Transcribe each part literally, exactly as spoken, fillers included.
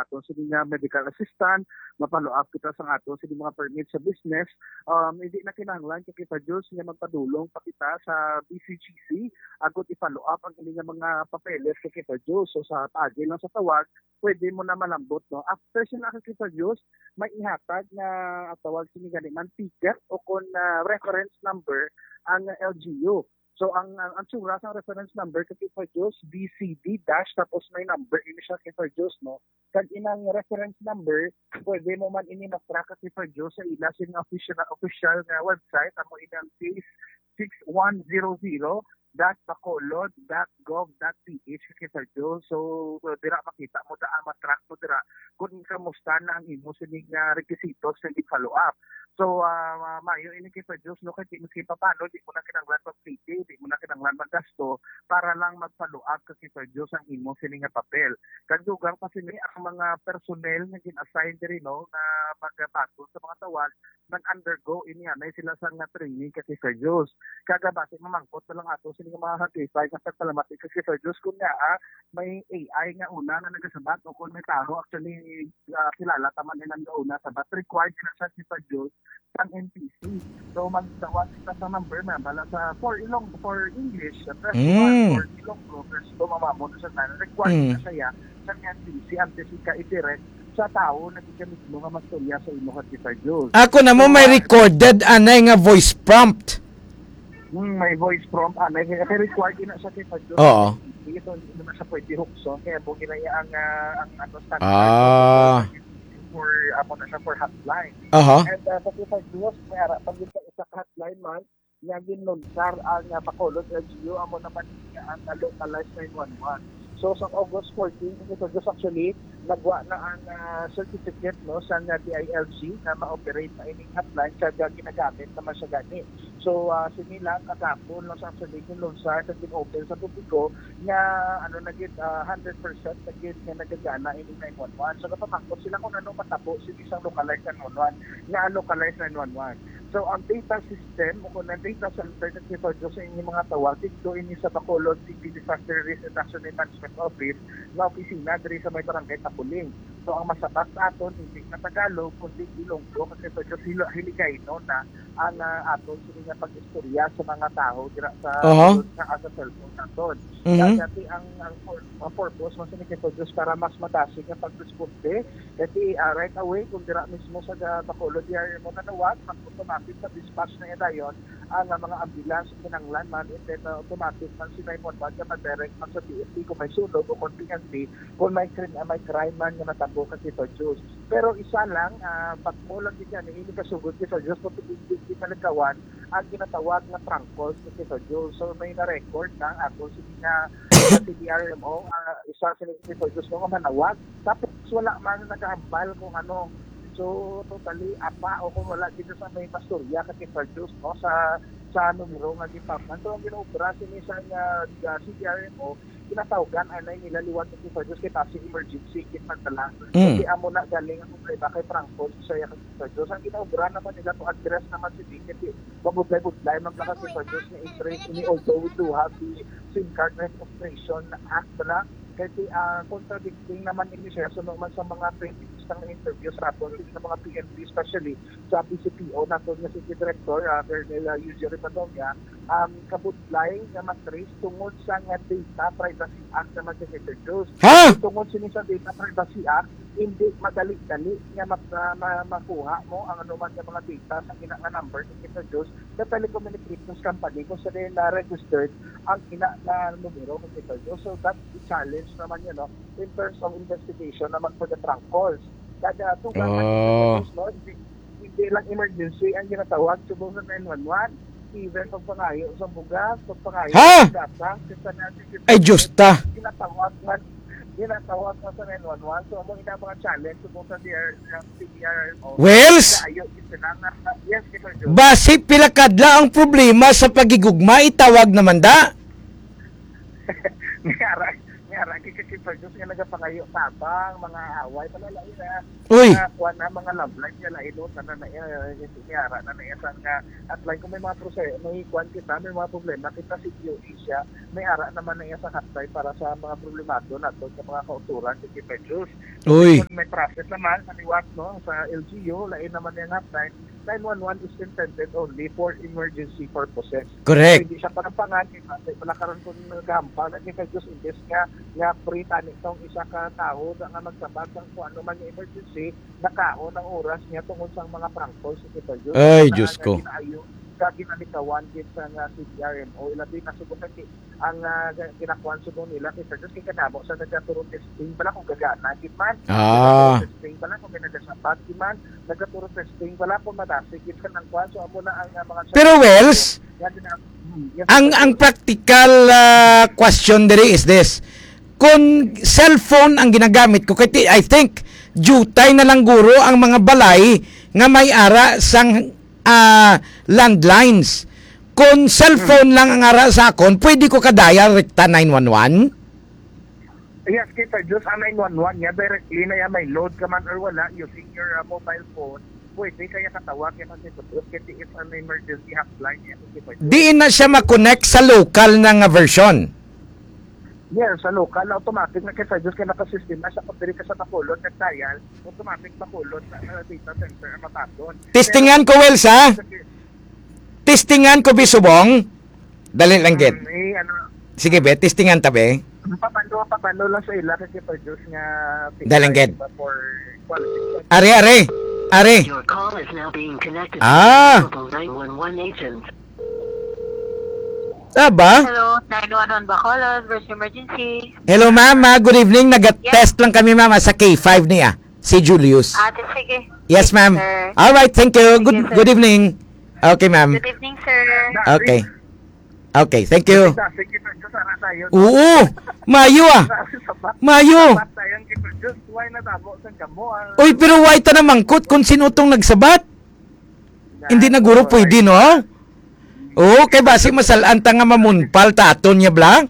aton sini nga medical assistant, ma-follow up kita sa aton sini mga permit sa business. Um, hindi na kinahanglan, Ka Kifa Jules, nga magpadulong pa kita sa B C G C agud i-follow up ang ini nga mga papeles, Ka Kifa Jules. So, sa paagi lang sa tawag, pwede mo na malambot, no? After sila, Ka Kifa Jules, may ihatag nga, ah, tawag sini gani man, ticket o kon, ah, reference number ang L G U. So, ang, ang, ang tsura sang reference number, Ka Kifa Jules, B C D dash, tapos may number ini siya, Ka Kifa Jules, no? Kag inang reference number, pwede mo man ini ma-track, Ka Kifa Jules, sa ila sing official, official nga website, amo inang case six one zero zero dot bacolod dot gov dot P H, Ka Kifa Jules. So, so, dira makita mo, daan ma-track mo dira kung kamusta na ang imo sining, ah, requisitos sa follow up. So, ah, ma-, maayo ini, Ka Kifa Jules, no, kay di mo, kay paano, di mo na kinahanglan mag-pay, di mo na kinahanglan maggasto para lang mag-follow up, Ka Kifa Jules, ang imo sini nga papel. Kag dugang pa sini, ang mga personnel nga gin-assign diri, no, nga magbaton sa mga tawag, nag-undergo ini anay sila sa nga training, Ka Kifa Jules. Kag basi mamangkot na lang ato sini nga mga Ka Kifa nga pagpalamat, Ka Kifa Jules, kung nga, ah, may A I nga una nga nagasabat o kung may tao actually, ah, kilala ta man ilang gauna sa bat, required na siya, Ka Kifa Jules, sang N T C. So, magtawag kita sa number na bala sa for Ilong, for English, press Mm. one, for Ilonggo, press two, mamamo na siya tanan. Required Mm. na siya sa N T C antes ika i-direct sa tawo na ika mismo nga mastorya sa imo, Ka Kifa Jules. Ako na mo So, may ah, recorded anay nga voice prompt. Hmm, may voice prompt, ah, may, may required na siya, Ka Kifa Jules. Oo. Hindi ito, hindi naman siya pwede hukson. Kaya mo ginaya ang, ah, ang, ano, standard Ah. for, amo na siya for hotline. Aha. And, ah, sa Ka Kifa Jules, may ara pa gid sa isa ka hotline man, nga ginlunsar ang, ah, Bacolod L G U, amo naman niya ang, ah, localized nine one one. So, sa August fourteen, Ka Kifa Jules, actually, nagwa na ang, ah, certificate, no, sa nga D I L G na ma-operate na ining hotline, kag, ah, ginagamit naman siya gani. So, ah, sini lang, kagapon lang sa actually, ginlunsar, kag gin-open sa publiko, nga, ano na gid, ah, hundred percent na gid nga nagagana ining nine one one. So, napamangkot sila kung ano matabo sa isang localized nine one one, nga localized nine one one. So, ang data system o kung ang data center, Ka Kifa Jules, sa inyong mga tawag, dito ini sa Bacolod City Disaster Risk Reduction and Management Office nga opisina diri sa may Barangay Tapuling. So, ang masabat sa aton, hindi na Tagalog, kundi Ilonggo, Ka Kifa Jules, Hil-, Hiligaynon na ang, ah, aton sini nga pag-istorya sa mga tawo dira sa Aha. sa, sa cellphone naton. Mhm. Kaya dati ang, ang pur-, ang purpose mo sini, Ka Kifa Jules, para mas madasig nga pagresponde. Kasi, ah, right away, kung dira mismo sa ga-, Bacolod D R M O nanawag, mag-automatic sa dispatch na dayon ang, ah, mga ambulance, kinanglan man, and then, ah, automatic man si nine one one nga mag-direct man sa P N P kung may sunog o kung P N P, kung may krim-, ah, may crime man nga natabo, Ka Kifa Jules. Pero isa lang, ah, bag-o lang gid yan, ini kasugod, Ka Kifa Jules, kung hindi, hindi malikawan ang ginatawag nga prank calls, Ka Kifa Jules. So, may na-record na ako, sige nga, sa C D R M O, ah, isa sila, Ka Kifa Jules, nga manawag. Tapos wala man nagahambal kung ano. So, totally, apa, o kung wala dito sa may mastorya, Ka Kifa Jules, no, sa, sa numero nga gipamnan. So, ang ginaobra sini sa nga, ah, C D R M O, ginatawgan anay nila liwat, Ka Kifa Jules, kay basi emergency gid man bala. Mm. Kasi amo na galing ang problema kay prank calls, siya, Ka Kifa Jules. Ang ginaobra naman nila to address naman si Vicky, kay mabudlay-budlay man bala, Ka Kifa Jules, nga i-trace ini, although we do have the SIM Card Registration Act na, kay, ah, contradicting naman ini siya, suno man sa mga previous nga interview sa aton, sa mga P N P, especially sa P C P O naton nga City Director, ah, Colonel, ah, Eugene Rivadavia, um, kabudlay nga ma-trace tungod sa nga Data Privacy Act naman, Ka Kifa Jules. Ha? Tungod sini sa Data Privacy Act, hindi madali-dali nga ma-, ma-, ma-, makuha mo ang anuman nga mga data sa ina nga number, Ka Kifa Jules, sa telecommunications company kung sa na registered ang ina nga numero, Ka Kifa Jules. So, that's the challenge naman yun, no? In terms of investigation naman for the prank calls. Kada tugang Oh. Ka Kifa Jules, no? Hindi, hindi lang emergency ang ginatawag subong sa nine one one. Even pagpangayo sa bugas, pagpangayo Ha? sa data, sa natin, Ay, Diyos ta. Ginatawag man, ginatawag man sa nine one one. So, amo ina mga challenge subong sa D R, sa C D R, o Wells? Kaayo, gid sila nga, yes, Ka Kifa Jules. Basi pila kadla ang problema sa paghigugma, itawag naman da. May ara, may ara, Ka Kay Sir Diyos nga nagapangayo tabang, mga away, malalain na. Uy! Mga kuwan na, mga love life nga lain, no? Tanan na iya, eh, may ara na na iya sa nga hotline. Kung may mga proseso, may kuwan kita, may mga problema kita, si Q E siya, may ara naman na iya sa hotline para sa mga problemado nato sa mga kauturan, si Sir Diyos. Uy! Kung may process naman, sa liwat, no? Sa L G U, lain naman yung hotline. Nine one one is intended only for emergency purposes. Correct. So, hindi siya panampangan, kay base pala karon kung naghampal, ang Sir Diyos, imbes nga, nga free tani tong isa ka tawo nga magsabat sang kung ano man nga emergency, nakaon ang oras niya tungod sang mga prank calls, Sir Diyos. Ay, Diyos ko. Nga ginaayo, ka ginalikawan gid sa nga C D R M O, ilabi na subot ang, ang, ah, ginakuan subong nila, Sir Diyos, kay kadamo sa nagkaturo testing, bala kung gagana gid man. Ah. Nagkaturo testing, bala kung may nagasabat gid man, nagkaturo testing, bala kung madasig gid sa nang kuan. So, amo na ang, ah, mga Pero, Wells, nga gina-, hmm, yes, ang, sir. Ang practical, ah, question diri is this. Kung cellphone ang ginagamit ko, kay ti-, I think, diutay na lang guro ang mga balay nga may ara sang, ah, landlines. Kung cellphone lang ang ara sa akon, pwede ko ka-dial rekta nine one one? Yes, kay Sir Diyos, ang nine one one niya, directly na yan, may load ka man or wala, using your, ah, mobile phone, pwede kaya katawag yan kasi Sir Diyos, kasi it's an emergency hotline yan, kasi Sir Diyos. Diin na siya ma-connect sa local na nga version? Yes, sa local, automatic na kay Sir Diyos, kaya nakasistema siya, kung diri ka sa Bacolod, nag-dial, automatic Bacolod na, ah, data center ang mabaton. Testingan ko, Wells, ha? Testingan ko, bisubong. Dali lang, gid. Mm, eh, ano, Sige, be. Testingan ta, be. Pabalo, pabalo lang sa ila kasi Sir Diyos nga Dali lang, gid. For quality. Are, are. Are. Your call is now being connected Ah. to the nine one one agent. Aba? Hello, nine one one Bacolod, first emergency. Hello, ma'am. Ah, good evening. Naga-test lang kami, ma'am, ah, sa K five niya. Si Julius. Ah, sige. Yes, ma'am. Sir. All right, thank you. Good, Thank you, sir. Good evening. Okay, ma'am. Good evening, sir. Okay. Okay, thank you. Sa, sige, sir. Sa, sa, sa, yun. Oo. Mayo, ah. Sa, sa, sa, Mayo. Sa, sa, yung, sir, just why na tamo sa kamo, ah? Uy, pero why ta na mangkot kung sino tong nagsabat? Hindi na guro pwede, no? Oo, kay basi masalan ta nga mamunpal ta aton niya, bla?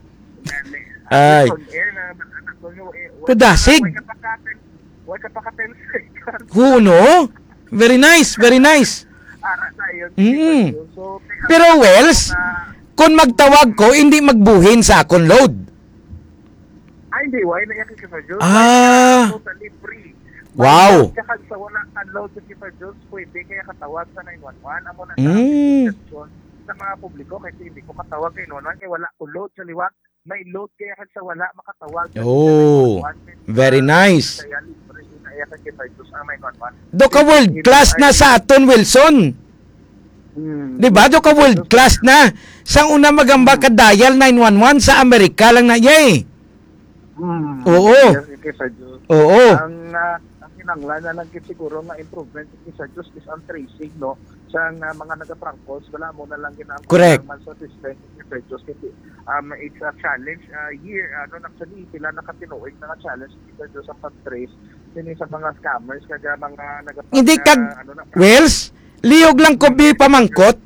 Ay. On air na, ano, ano, ano, eh, Padasig. Wala ka pa ka-, wala ka pa ka ten seconds. Oo, no? Very nice, very nice. Ara na yun. Mm. So, Pero, Wells, na kung magtawag ko, hindi magbuhin sa akon load. Ay, hindi. Why na yan, Sir Diyos? Ah. Totally free. Wow. Kaya kag sa wala ka load sa Sir Diyos, pwede kaya katawag sa nine one one. Amo na sa Mm. Sa mga publiko, kasi hindi ko katawag kay nine one one, kay wala ko load sa liwat. May load kaya kag sa wala makatawag sa Oh, nine one one. Very nice. Kaya libre na iya kay Sir Diyos ang nine one one. Do ka world class na sa aton, Wilson. Hmm. Di ba? Do ka world class na. Sa una magamba ka dial nine one one sa Amerika lang na, yay. Hmm. Oo. Yes, okay, Sir Joe. Oo. Ang, ah, ang kinahanglan na lang gid siguro nga improvement, Sir Joe, is ang tracing, no? Sa nga mga nagaprank calls, wala mo na lang gid ang Correct. Kulang man sa system, Sir Joe, kasi, um, it's a challenge, ah, year, ano, actually, pila na katinuig na nga challenge, Sir Joe, sa pag-trace, sini sa mga scammers, kag mga nagaprank, Hindi kag, ah, ano na, Wells, Lihog lang ko bi pamangkot,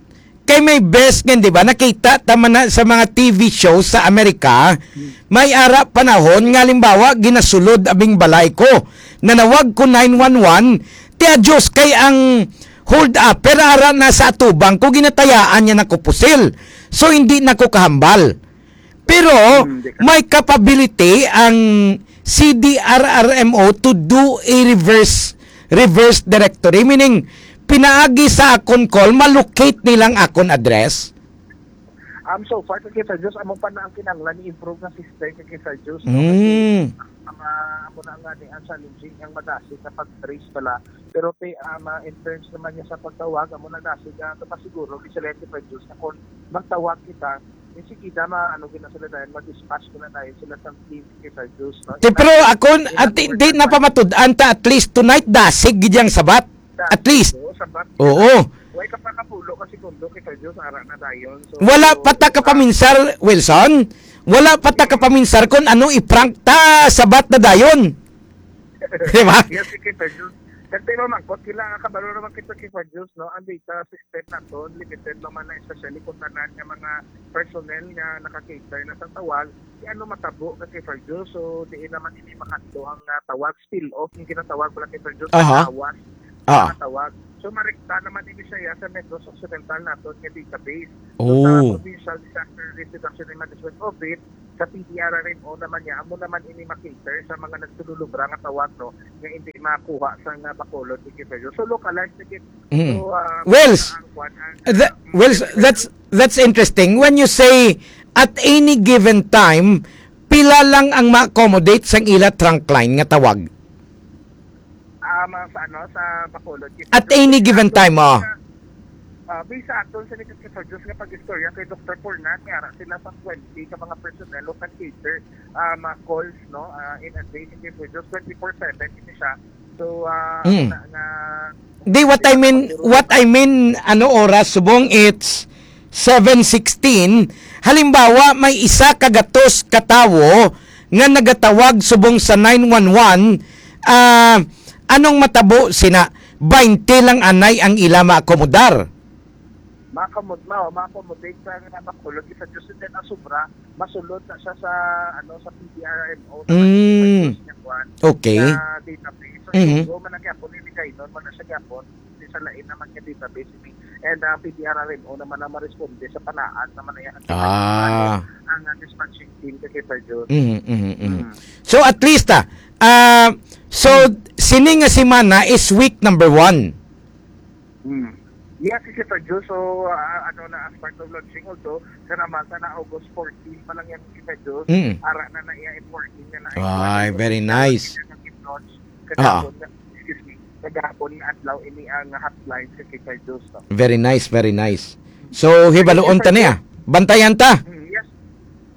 kay may best nga, di ba, nakita ta man na sa mga T V shows sa Amerika, may ara panahon nga, halimbawa, ginasulod abing balay ko. Nanawag ko nine one one, tiya Diyos, kay ang hold upper ara na sa atubang ko, ginatayaan niya na ko pusil. So, hindi na ko kahambal. Pero Hmm, di ka may capability ang C D R R M O to do a reverse, reverse directory, meaning pinaagi sa akon call, ma-locate nilang akon address. Um, so far, kay Sir Diyos, amo pa na ang kinahanglan ni improve nga system, kay Sir Diyos, no? Mm. Kasi ang, ah, amo na nga ni ang challenging, ang madasig na pag-trace pala. Pero kay, um, ah, in terms naman niya sa pagtawag, amo na dasig, ah, kapasiguro, kay Sir Diyos, na kung magtawag kita, yung sige, dama, ano, gina sila dahil, mag-dispatch ko na tayo sila sa team, kay Sir Diyos, no? Di, pero ako, Ina-, at di, di na pamatud-an ta, at least tonight, dasig gid yang sabat. At least. Oo, sabat. Oo. Way ka pa kapulo ka segundo kay Sir Diyos, ara na dayon. So, Wala so, pa ta kapaminsar, Wilson. Wala pa ta kapaminsar kung ano i-prank ta, sabat na dayon. Di ba? Yes, kay Sir Diyos. Kag tayo mamangkot, kailangan kabalo naman kita kay Fred Jules, no? Ang data system naton, limited naman na, especially kung tanan nga mga personnel nga naka-cater na sa tawag, di ano matabo ka kay Fred Jules. So, di naman ini makanto ang, ah, tawag, spill off, yung ginatawag pala kay Fred Jules, Aha. awas Ah. ang tawag. So, marekta naman ini siya sa Negros Occidental naton nga database. So, sa Oh. Provincial Disaster Risk Reduction and Management Office, sa P D R R M O naman niya, amo naman ini makater sa mga nagsululubra nga tawag, no, nga hindi makuha sa nga Bacolod, Iquipegos. So, localized na gid. Mm. So, ah, Wells, ang kwan, ang, the, ah, Wells, that's, that's interesting. When you say at any given time, pila lang ang ma-accommodate sang ila trunk line nga tawag? Ah, mga sa ano, sa Bacolod. Kasi At any given time, oh. Ah, based sa aton sa Negros Occidental nga pag-istorya kay Doktor Purnan, may ara sila sa twenty ka mga personnel o can cater, ah, mga calls, no, ah, in a day, hindi po, just twenty-four seven, hindi siya. So, ah, Mm. na, na, Di, what I mean, what I mean, ano oras, subong it's seven sixteen. Halimbawa, may isa ka gatos ka tawo nga nagatawag subong sa nine one one, ah, anong matabo sina? Baynte lang anay ang ila maakomodar. Makamod-, ma-, ma-accommodate sa nga Bacolod, isa Diyos, and then ang sobra, masulod na siya sa, ano, sa P D R M O, sa Mm. Niya kwan, Okay. sa database. So, Mhm. siguro man ang gyapon, ini kay nun, man na siya gyapon, di sa lain naman nga database, ini. And, ah, P D R M O naman ang maresponde sa panaad naman na yan. Ah. Ang, ah, dispatching team kay Kay Fredjun. Mhm, mhm, mhm. Mm. So, at least, ah, ah, so, sini nga semana is week number one. Hmm. Yes, si Sir Joe. So, ah, ano na, as part of launching also, sa namata na August fourteen pa lang yan, si Sir Joe. Mm. Ara na na iya in working na na. Ay, very nice. Kagahapon na, excuse me, kagahapon nga adlaw ini ang hotline sa Sir Joe, no? Very nice, very nice. So, hibaluon ta niya. Bantayan ta. Hmm, yes.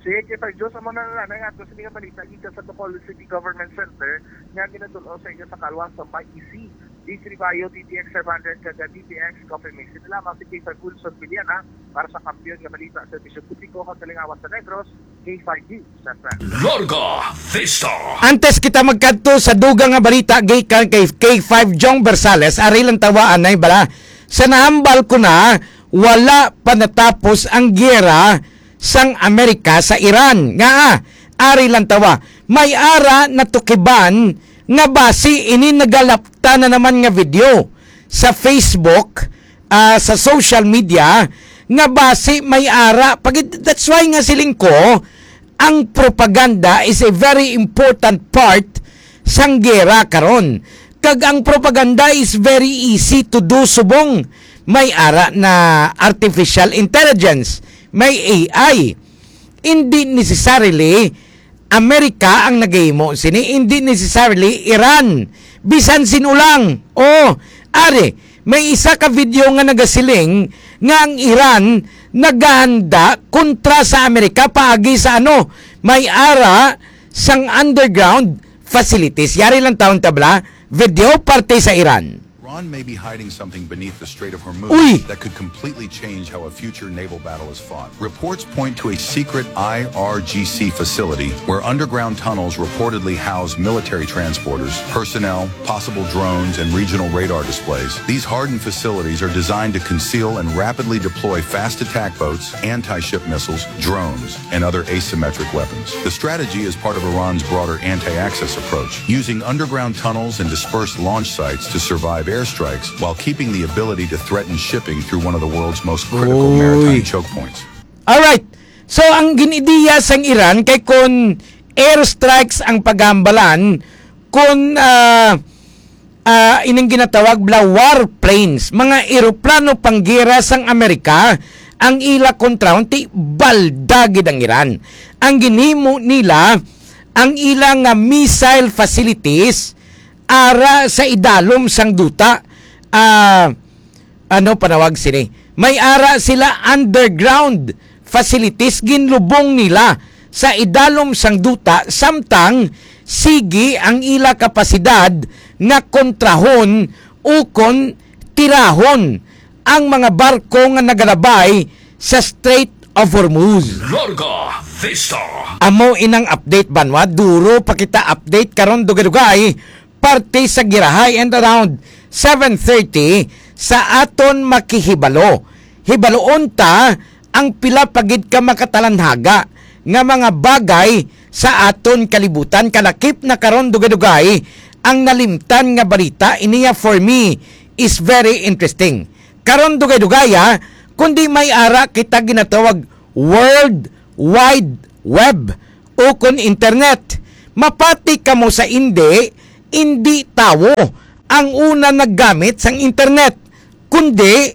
Sige, Sir Joe, sa mga na, na, ato sa mga balita, gikan sa Bacolod City Government Center, nga ginatulong sa inyo sa kalwa sa may isi. D three Bio, D T X five hundred, kag D T X Coffee Mix. Ito lamang si Kay Wilson Villana para sa Kampiyon nga Balita, Serbisyo Publiko, kag Kalingawan sa Negros, K five News, San Fran. Larga Vista. Antes kita magkadto sa dugang nga balita gikan kay K five Jong Bersales, ari lang tawa anay bala. Sa nahambal ko na, wala pa natapos ang giyera sang Amerika sa Iran. Nga, ah, ari lang tawa. May ara natukiban nga basi ini nagalapta na naman nga video sa Facebook, ah, sa social media, nga basi may ara. Pag-, that's why nga siling ko, ang propaganda is a very important part sang gera karon. Kag ang propaganda is very easy to do subong may ara na artificial intelligence, may A I. Hindi necessarily Amerika ang nagahimo sini, hindi necessarily Iran. Bisan sin-o lang. Oh, ari, may isa ka video nga nagasiling nga ang Iran nagahanda kontra sa Amerika paagi sa ano, may ara sang underground facilities. Yari lang taon tabla, video parte sa Iran. Iran may be hiding something beneath the Strait of Hormuz Uy! that could completely change how a future naval battle is fought. Reports point to a secret I R G C facility where underground tunnels reportedly house military transporters, personnel, possible drones, and regional radar displays. These hardened facilities are designed to conceal and rapidly deploy fast attack boats, anti-ship missiles, drones, and other asymmetric weapons. The strategy is part of Iran's broader anti-access approach, using underground tunnels and dispersed launch sites to survive airstrikes while keeping the ability to threaten shipping through one of the world's most critical Uy. maritime choke points. Alright. So, ang ginidiya sang Iran kay kon airstrikes ang paghambalan, kon, ah, ah, ining ginatawag bala warplanes, mga eroplano panggera sang Amerika, ang ila kontrahon, ti balda gid ang Iran. Ang ginhimo nila, ang ila nga missile facilities ara sa idalom sang duta, ah, ano panawag sini? May ara sila underground facilities ginlubong nila sa idalom sang duta, samtang sige ang ila kapasidad nga kontrahon ukon tirahon ang mga barko nga nagalabay sa Strait of Hormuz. Larga Vista. Amo inang update, banwa. Duro pa kita update karon, dugay-dugay. parte sa girahay, and around seven thirty sa aton makihibalo. Hibaloon ta ang pila pa gid ka makatalanhaga nga mga bagay sa aton kalibutan. Kalakip na karon, dugay-dugay, ang nalimtan nga balita. Iniya, for me, is very interesting. Karon, dugay-dugay, ha, kundi may ara kita ginatawag World Wide Web o kon internet. Mapati kamo sa indi, indi tawo ang una naggamit sang internet, kundi,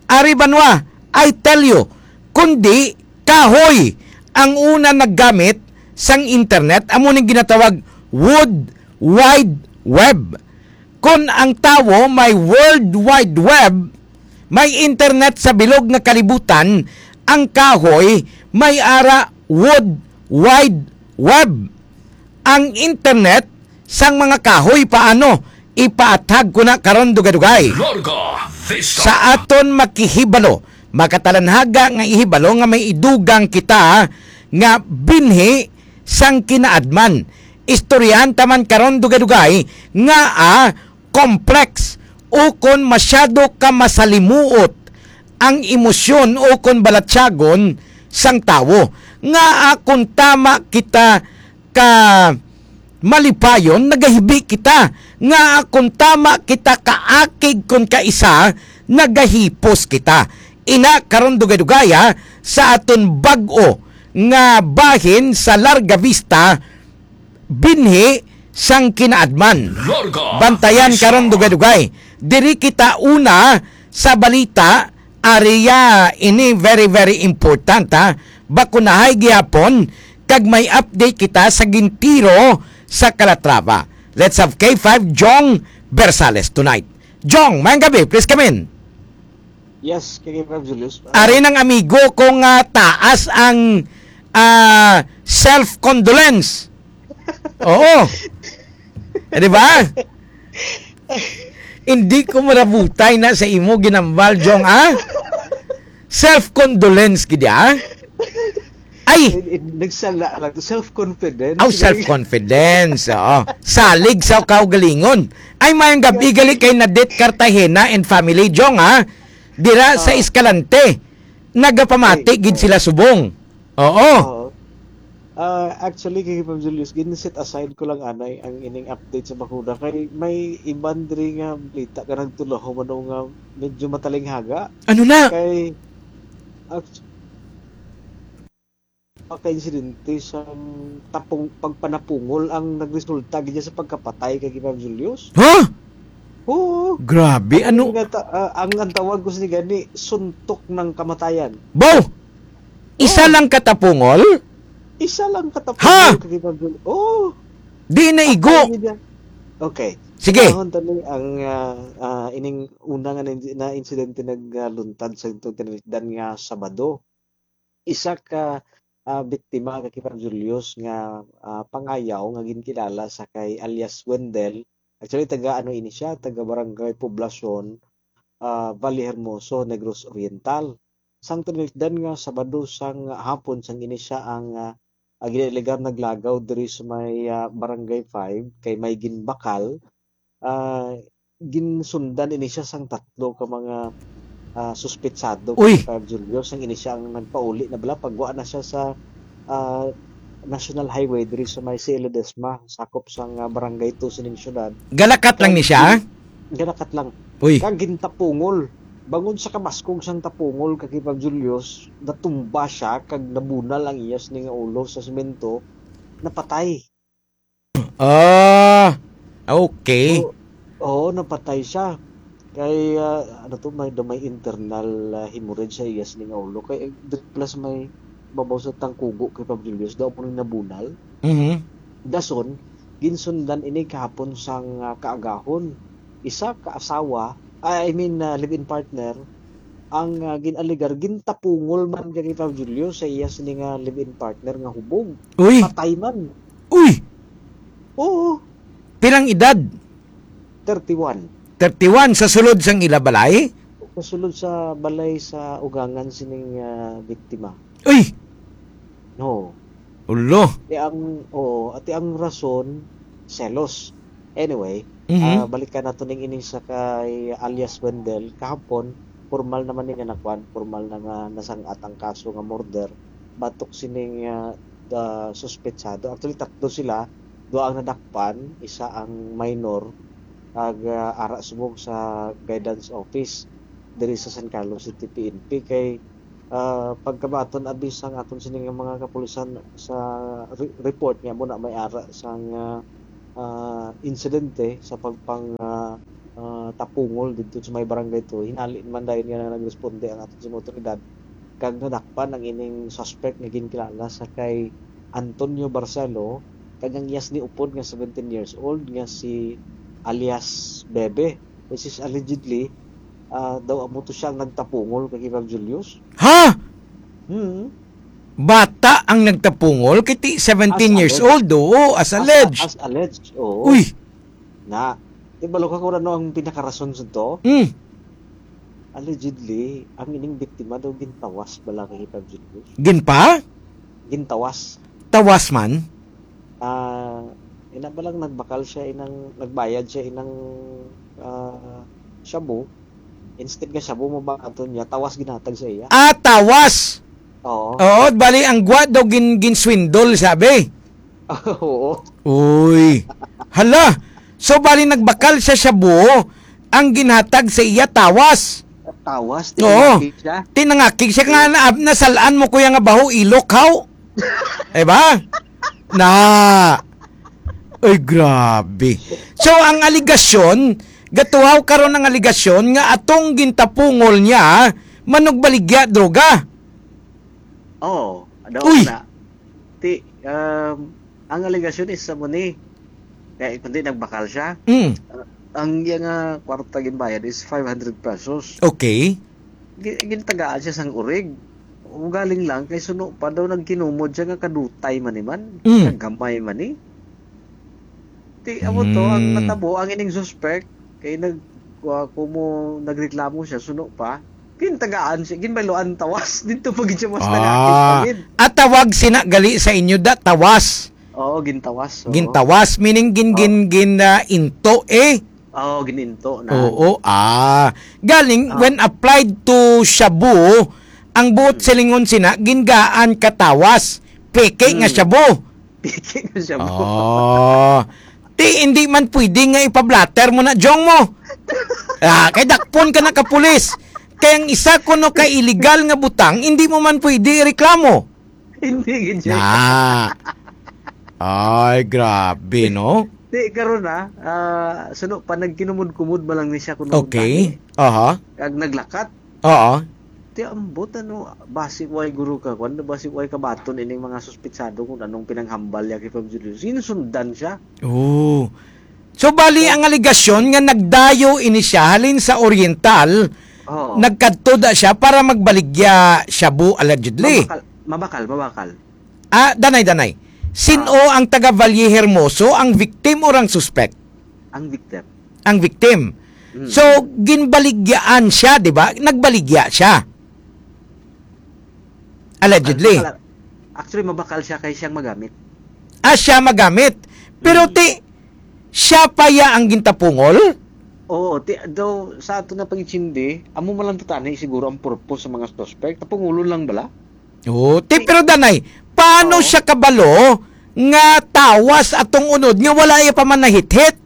ari banwa, I tell you, kundi kahoy ang una naggamit sang internet, amo ning ginatawag Wood Wide Web. Kon ang tawo may World Wide Web, may internet sa bilog nga kalibutan, ang kahoy may ara Wood Wide Web. Ang internet sang mga kahoy, paano? Ipaathag ko na karon, dugay-dugay. Larga Vista. Sa aton makihibalo, makatalanhaga nga ihibalo nga may idugang kita nga binhi sang kinaadman. Istoryahan ta man karon, dugay-dugay, nga, ah, complex o kon masyado ka masalimuot ang emosyon o kon balatyagon sang tawo. Nga, ah, kon tama kita ka malipayon, nagahibi kita. Nga, ah, kon tama kita kaakig kon kaisa, nagahipos kita. Ina karon, dugay-dugay, ha, sa aton bag-o nga bahin sa Larga Vista, binhi sang kinaadman. Larga Bantayan Vista. Karon, dugay-dugay. Diri kita una sa balita, area ini very, very important, ha. Bakunahay gihapon kag may update kita sa gintiro sa Calatrava. Let's have K five Jong Bersales tonight. Jong, mayang gabi, please come in. Yes, K five Julius. Ah, Ari ng amigo ko nga taas ang, ah, self-condolence. Oo. Eh, di ba? Hindi ko marabutay na sa imo ginambal, Jong, ah. Self-condolence gid, ah. Ay, Eh, eh, nagsala lang. Self-confidence. Aw, self-confidence. Oo. Salig sa kaugalingon. Ay, mayang gabi gali kay Nadit Cartagena and family, Jong, ha? Dira sa Oo. Escalante. Nagapamati Ay, gid oo. Sila subong. Oo. Oo. Ah, actually, kay Pam Julius, gin-set aside ko lang anay ang ining update sa bakuna kay may iban diri nga balita nga nagtulaho man nga medyo matalinghaga. Ano na? Kay, act-, pagka-insidente sang tapong, pagpanapungol ang nagresulta gid sa pagkapatay kay Pam Julius. Ha? Oo. Grabe, Ang ano? nga ta-, ah, ang, ang tawag ko sini gani, suntok ng kamatayan. Bo! Isa Oo. lang katapungol? Isa lang katapungol Ha? kay Pam Julius. Oo. Di na igo. Patay niya. Okay. Sige. Panahon tani ang, ah, ah, ining una nga na, na insidente nagluntad sa tinubdan nga Sabado. Isa ka, ah, biktima kay Pam Julius nga, ah, pangayaw nga ginkilala sa kay alias Wendell. Actually, taga ano ini siya, taga Barangay Poblacion, ah, Valle Hermoso, Negros Oriental. Sang tinubdan nga Sabado sang hapon sang ini siya ang, ah, ah, ginalegar naglagaw diri sa may, ah, Barangay five kay may ginbakal, ah, ginsundan ini siya sang tatlo ka mga, ah, suspetsado, Uy! Kay Julio, sang ini siya ang nagpauli na bala, pagwa na siya sa, ah, National Highway diri sa may C L Ledesma, sakop sang, ah, Barangay two sining syudad. Galakat lang ni siya? Galakat lang. Uy. Kag gintapungol. Bangod sa kabaskog sang tapungol kay Pab Julius, natumba siya kag nabunal ang iya sini nga ulo sa semento, napatay. Ah, okay. Oo, oo, napatay siya. Kay, ah, ano to, may, may internal, ah, hemorrhage sa iya sini nga ulo. Kay, eh, plus may babaw sa tangkugo kay Pab Julius, daw po nabunal. Mhm. Dason, ginsundan ini kahapon sang, ah, kaagahon. Isa ka asawa, ah, I mean, ah, live-in partner, ang, ah, gin-alegar, gintapungol man kay Pab Julio sa iya sini nga live-in partner nga hubog. Uy! Patay man. Uy! Oo. Pilang edad? Thirty-one. Thirty-one sa sulod sang ila balay? Sa sulod sa balay sa ugangan sining, ah, biktima. Uy! No. Ulo. Ati ang, oo, ati ang rason, selos. Anyway, Mhm. ah, balikan nato ning ini sa kay alias Wendell. Kahapon, formal naman ni nga nakuan, formal na nga nasangat ang kaso nga murder. Batok sining, ah, ah, suspetsado. Actually, tatlo sila. Duha ang nadakpan, isa ang minor. Ag, ah, ara subong sa guidance office diri sa San Carlos City P N P kay, ah, pagkabaton abi sang aton sini nga mga kapulisan sa re-, report nga mo na may ara sang, ah, ah, insidente sa pagpang, ah, ah, tapungol didto sa may barangay two. Hinali naman dayon nga nagresponde ang aton sini otoridad kag nadakpan ang ining suspect nga ginkilala sa kay Antonio Barcelo kag ang iyas ni upod nga seventeen years old nga si alias Bebe, which is allegedly, ah, daw amo to siya ang nagtapungol kay Kibang Julius. Ha? Hmm. Bata ang nagtapungol kay ti seventeen As years alleged. old, oo, as As, alleged. as alleged, oo. Uy. Na, ibalo ka kung ano ang pinakarason sa to? Mm. Allegedly, ang ining biktima daw gintawas bala kay Kibang Julius. Ginpa? Gintawas. Tawas man? Ah, ina ba lang nagbakal siya inang, nagbayad siya inang, ah, shabu. Instead nga shabu mo ba ato niya, tawas ginatag sa iya. Ah, tawas! Oo. Oo, bali ang gwa daw gin-, ginswindol, sabi. Oo. Uy. Hala. So, bali nagbakal siya shabu, ang ginhatag sa iya tawas. Tawas, Oo. tinangakig siya. Tinangakig siya nga na, nasalaan mo kuya nga baho ilok, haw? Diba? Na. Ay, grabe. So, ang aligasyon, gatuhaw karon ang aligasyon nga atong gintapungol niya, manugbaligya, droga. Oo, daw Uy! na. Ti, um, ang alegasyon is sa mo ni, kay kundi nagbakal siya. Mm. Uh, ang iya nga kwarta ginbayad is five hundred pesos. Okay. Gi-, gintagaan siya sang urig. Ugaling lang, kay suno pa daw nagkinumod siya nga kadutay man ni man, Mm. nga gamay man ni. Ti, amo to, ang Mm. natabo, ang ining suspect, kay nag-, wa-, kumo nagreklamo siya, suno pa, gintagaan siya, ginbayloan tawas, dito pa gid siya mas Ah. nagakit pa gid. At tawag sina gali sa inyo da, tawas. Oo, gintawas, oo. Gintawas, meaning gin-, Oo. gin-, gin-, ah, into, eh. Oo, gininto na. Oo, ah. Galing, Ah. when applied to shabu, ang buot Hmm. silingon sina, gingaan katawas, peke nga Hmm. shabu. Peke nga shabu. Oh. Ti, hindi man pwede nga ipablatter mo na, Jong mo. Ah, kay dakpon ka na ka pulis. Kay ang isa kuno ka illegal nga butang, hindi mo man pwede ireklamo. Hindi gid siya. Na. Ay, grabe, no? Di, karon na, ah, suno pa, nagkinumod-kumod ba lang ni siya kuno Okay. gani? Aha. Kag naglakat. Oo. Ti, ambot, ano, basi way guro ka, kwan, basi way kabaton ining mga suspitsado kung anong pinanghambal niya kay Pam Julius. Sinusundan siya. Oo. So, bali, ang aligasyon nga nagdayo ini siya halin sa Oriental, Oo. nagkadto da siya para magbaligya shabu, allegedly. Mabakal, mabakal, mabakal. Ah, danay, danay. Sin-o Ah. ang taga Valle Hermoso, ang victim or ang suspect? Ang victim. Ang victim. Mm. So, ginbaligyaan siya, di ba? Nagbaligya siya. Allegedly. Mabakal, actually, mabakal siya kay siyang magamit. Ah, siya magamit. Pero Mm. ti, siya pa ya ang gintapungol? Oo, ti, daw, sa ato na pag-intindi, amo man lang to tani siguro ang purpose sa mga suspect. Tapungulon lang bala? Oo, ti, Ti, pero danay, paano Oo. siya kabalo nga tawas atong unod nga wala iya pa man nahithit?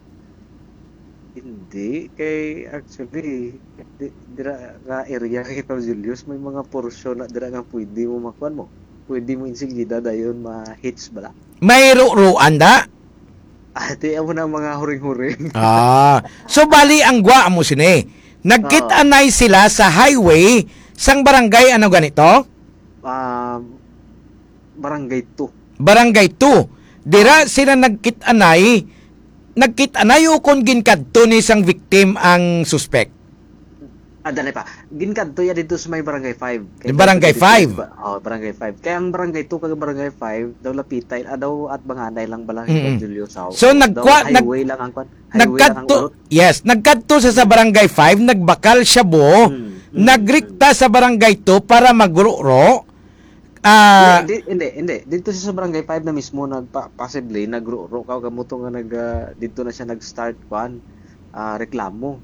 Hindi, kay actually, di, dira nga area kay Pam Julius, may mga porsyon na dira nga pwede mo makuan mo. Pwede mo insigida dayon ma-hitch bala. May ruruan da? Ah, di, amo na ang mga huring-huring. Ah, so bali ang gwa mo sini. Nagkit-anay Oo. sila sa highway sang barangay, ano ganito? Um, Barangay two. Barangay two. Dira sila nagkit-anay, nagkit-anay o kung ginkadto ni sang victim ang suspect? Ah, dali pa. Ginkadto ya dito sa may Barangay five. Kay Yung Barangay dito five. ba-, oh, Barangay five. Kaya ang Barangay two kag Barangay five, daw lapitay, ah, daw at banganay lang bala Mm-mm. Julio Sao. So, Daw nagkwa-, nag-, highway lang ang kwan. Highway lang ang nagkadto, urot. Yes, nagkadto sa, sa Barangay five, nagbakal shabu, Mm, mm, nagrikta mm. sa Barangay two para magrukro, Ah, Hindi, hindi, hindi. Dito siya sa Barangay five na mismo nagpa-, possibly, nagruro ka, kamo to nga nag, ah, dito na siya nag-start, kwan, ah, reklamo.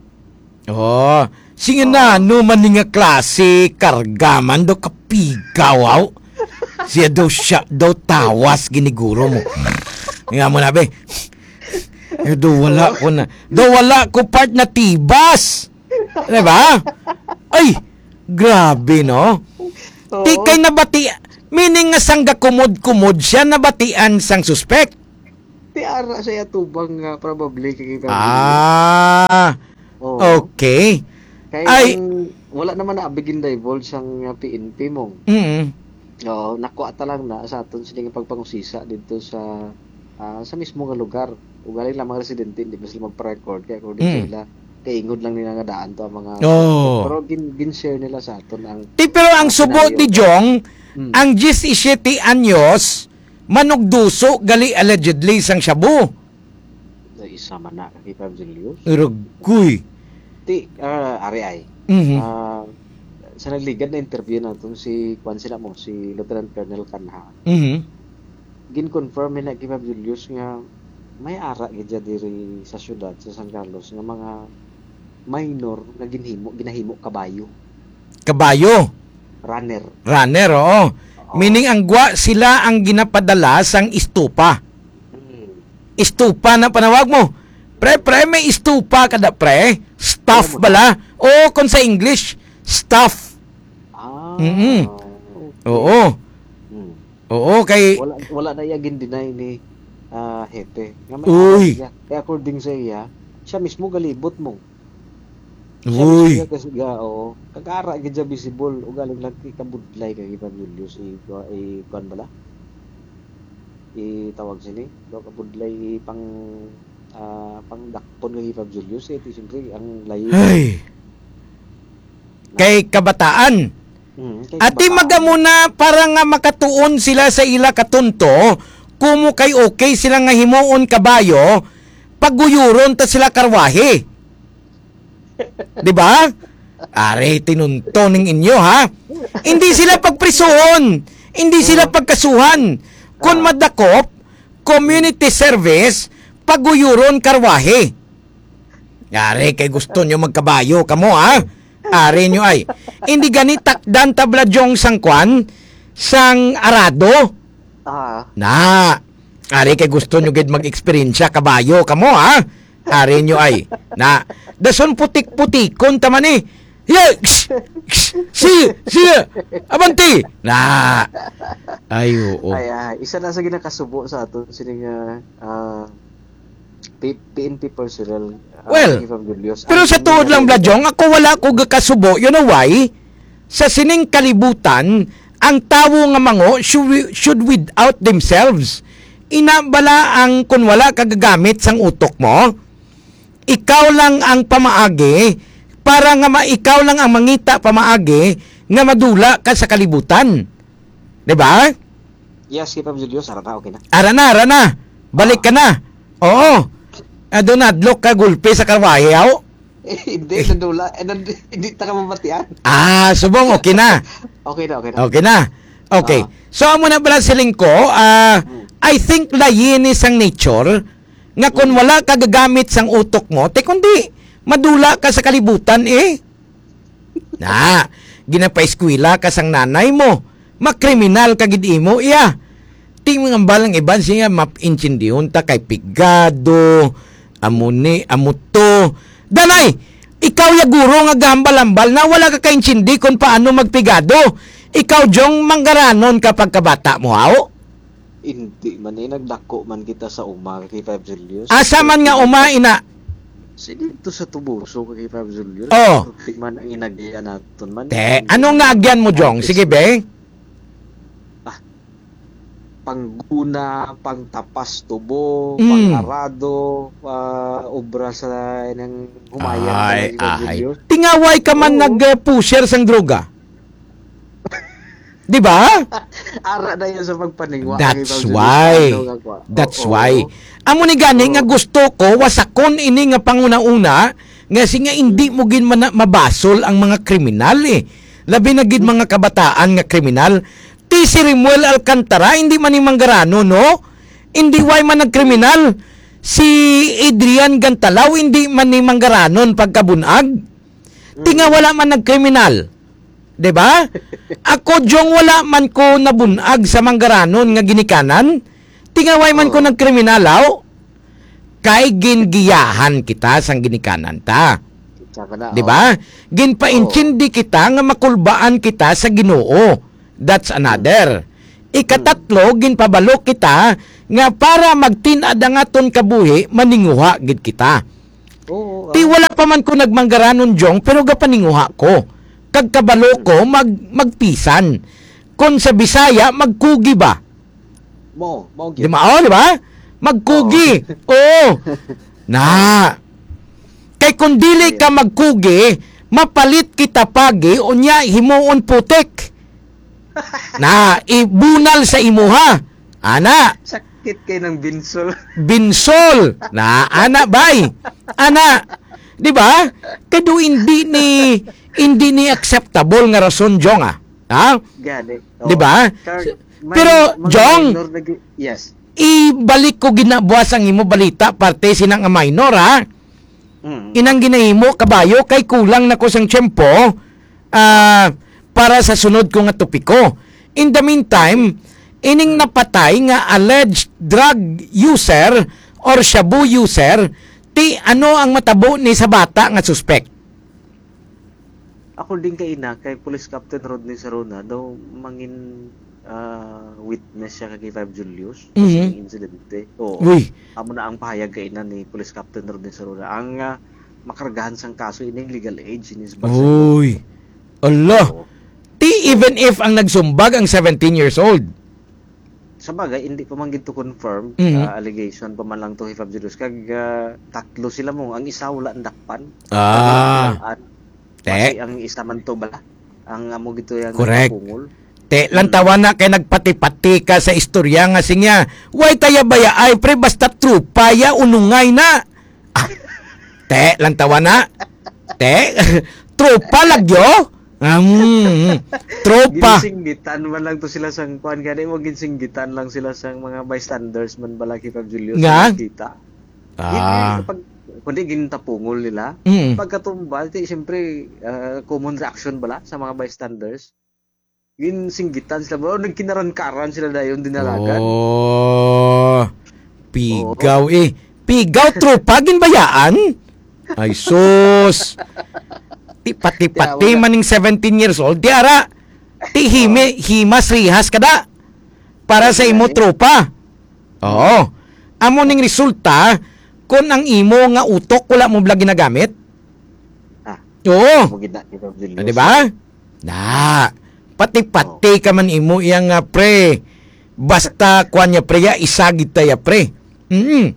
Oh, sige na, Oo. ano man ni nga klase, karga man daw kapigaw, aw. Siya daw, siya daw tawas giniguro mo. Nga mo na, be. Eh, daw wala ko na. Daw wala ko part na tibas. Di ba? Ay, grabe, no? Oo. Ti kay nabati, meaning nga sang gakumod-kumod siya, nabatian sang suspect. Ti ara sa iya tubang nga probably kay kita. Ah, Oo. okay. Kay Ay. ang wala naman na bigin divulge sang, uh, P N P mo. Mm. Oo, nakuha ta lang na sa aton sini nga pagpangusisa dito sa, ah, sa mismo nga lugar. Ugaling lang mga residente, hindi pa sila magpa-record. Kaya according sa Mm. ila, kaingod lang nila nga daan to ang mga Oo. Pero gin-, gin-share nila sa aton ang Ti, pero ang ang subo scenario. ni Jong, Mm. ang diyesisiyete anyos, manugduso gali allegedly sang shabu. Sa isa man na, kay Fab Julius. Rugoy. Ti, ah, ari ay. Mhm. Ah, sa nagligad na interview naton si, kwan sila mo, si Lieutenant Colonel Canha. Mhm. Gin-confirm na kay Fab Julius nga may ara gid siya diri sa syudad sa San Carlos nga mga minor nga ginhimo, ginahimo kabayo. Kabayo? Runner. Runner, oo. Oo. Meaning, ang gwa sila ang ginapadala sang estupa. Hmm. Estupa na panawag mo. Pre, pre, may estupa ka da, pre? Staff Alam mo bala? Oo, kung sa English, staff. Ah, Mm-mm. okay. Oo. Hmm. Oo, kay Wala, wala na iya gin-deny ni, ah, Hepe. Nga may Uy. anak siya. Kaya according sa iya, siya mismo galibot mo. Siya mismo Uy. siya kasi ga-, oo. Kag ara gid siya visible. Ugaling lang kay kabudlay kay Fab Julius, i-, i-, kuwan bala? Itawag sini. Daw kabudlay, i-, pang, ah, pangdakpon kay Fab Julius. Eh, ti, siyempre, ang layo. Ay. Kay kabataan. Mm, kay Ati kabataan. magamuna para nga makatuon sila sa ila katunto, kumo kay okay sila nga himuon kabayo, paguyuron ta sila karwahe. Di ba? Are, tinunto ning inyo, ha? Hindi sila pagprisuhon. Hindi sila Oo. pagkasuhan. Kun Oo. madakop, community service, paguyuron karwahe. Are, kay gusto nyo magkabayo kamo, ha? Are nyo ay. Hindi gani takdan tabla jong sang kwan, sang arado. Ah. Na. Ari kay gusto nyo gid mag-eksperyensya kabayo kamo, ha? Ari nyo ay. Na. Dason putik-putikon ta man eh. Yeah, ksh, ksh, sige, sige. Abanti. Na. Ay, oo. Ay, ah, isa na sa ginakasubo sa aton sining, ah, ah, P-, P N P personnel, ah, Well, Evangelios. pero Ang sa tuod lang, ginagawa Bla Jong, ako wala ko gakasubo. You know why? Sa sining kalibutan, ang tawo nga mango should, should weed out themselves. Ina bala ang kun wala ka gagamit sang utok mo, ikaw lang ang pamaagi para nga ma-, ikaw lang ang mangita pamaagi nga madula ka sa kalibutan. Di ba? Yes, kay Pam Julius, ara na, okay na. Ara na, ara na. Balik ka na. Oo. Ado na, adlok ka, gulpi sa karwahe, aw. Eh, hindi, nadula. Eh, nan-, hindi ta ka mabatian. Ah, subong, okay na. Okay na, okay na. Okay na. Okay. Ah. So, amo na pala siling ko, ah, Hmm. I think layi ni sang nature nga kung Hmm. wala ka gagamit sang utok mo, te kundi madula ka sa kalibutan eh. Na, ginapaeskwela ka sang nanay mo, makriminal ka gid imo, iya. Ti mangambal ang iban siya, map-, intindihon ta kay pigado, amo ni, amo to. Danay, ikaw ya guro nga gahambal-hambal na wala ka kaintindi kung paano magpigado. Ikaw, Jong, manggaranon ka pagkabata mo, haw? Hindi man eh, nagdako man kita sa uma kay Five Julius. Asa man nga uma, ina? Si dito sa Tubuso kay Five Julius. Oh. Di man ang inagian naton man. Te, ano nga agyan mo, Jong? Sige, be. Ah, pangguna, pangtapas tubo, Mm. pang-arado, ah, obra sa nang humayan Ay, talaga, ay. Julius. Tingaway ka man Oo. nag, eh, pusher sang droga. Di ba? Ara na yun sa pagpaningwa. That's Ang ibang why. Julius, ano nga kwa? That's Oo. why. Amo ni gani nga Oo. gusto ko, wasakon ini nga panguna-una, nga si nga hindi mo gid mana-, mabasol ang mga kriminal eh. Labi na gid mga kabataan nga kriminal. Ti si Rimuel Alcantara, hindi man ni manggaranon, no? Hindi, way man nagkriminal. Si Adrian Gantalaw, hindi man ni manggaranon pagkabunag. Ti nga wala man nagkriminal. Di ba? Ako, Jong, wala man ko nabunag sa manggaranon nga ginikanan. Ti nga way man ko Oo. nagkriminal, aw. Kay gingiyahan kita sang ginikanan ta. Kita ka na, Di oh. ba? Ginpaintindi kita nga makulbaan kita sa Ginoo. That's another. Ikatatlo, ginpabalo kita nga para magtin-ad ang aton kabuhi, maninguha gid kita. Oo, Ti ah. wala pa man ko nagmanggaranon, Jong, pero gapaninguha ko. Kag kabalo ko mag magpisan. Kon sa Bisaya, magkugi ba? Mo, mo Di gyud. mao, di ba? Magkugi. Oo. Na. Kay kung dili ka magkugi, mapalit kita pagi, unya himuon putik. Na, ibunal sa imuha. Ana, Sakit kay ng binsol. binsol. Na, ana, bay. Ana. Di ba? Kado hindi ni, hindi ni acceptable nga rason, Jong, ah. Ha? Gani. Di Oo. ba? Kag may Pero, mga Jong, minor na gi-, yes. ibalik ko ginabuas ang imo balita, parte sina nga minor, ha? Mm. Inang ginahimo, kabayo, kay kulang na ko sang tiyempo, ah, para sa sunod ko nga topiko. In the meantime, ining napatay nga alleged drug user or shabu user, ti ano ang matabo ni sa bata nga suspect? According kay ina, kay Police Captain Rodney Saruna daw mangin, ah, witness siya kay Five Julius Mhm. sa insidente. Oo. Uy. Amo na ang pahayag kay ina ni Police Captain Rodney Saruna. Ang, ah, makargahan sang kaso ining legal age ni sa Barcelona. Uy. Ala. Oo. Ti even if ang nagsumbag ang seventeen years old. Sa bagay, hindi pa man gid to confirm, Mhm. ah, allegation pa man lang to, Hifab Julius. Kag, ah, tatlo sila mo. Ang isa wala nadakpan. Ah. Wala nadakpan. Te. Basi ang isa man to bala. Ang amo gid to yang Correct. nagpapungol. Te, Hmm. lantawa na kay nagpati-pati ka sa istorya nga siya. Way taya baya ay, pre, basta tropa ya, unungay na. Ah, te, lantawa na. Te, tropa lagyo? Ah, mm, mm. Tropa. Ginsinggitan man lang to sila sang kuan gani mo, ginsinggitan lang sila sang mga bystanders man bala kay Fab Julius Nga? nga nakita. Ah. Gin-, pag, kundi gintapungol nila. Mm. Pagkatumba, di, siyempre, ah, common reaction bala sa mga bystanders. Ginsinggitan sila, bro. Nagkinaran-karan sila dayon, dinalagan. Oh, pigaw Oo. eh. Pigaw, tropa, ginbayaan? Ay, sus. Ti, pati-pati Kaya wala. man ning seventeen years old. Di ara, ti himi, Oo. himas, rihas ka da. Para sa Wala imo eh. tropa. Oo. Amo ning resulta, kung ang imo nga utok wala mo bala ginagamit. Ah. Oo. Amo gid na, Hifab Julius. Di ba? Na, pati-pati Oh. ka man imo iya nga, pre. Basta, kuwan niya, pre, ya, isa gid ta ya, pre. Mm.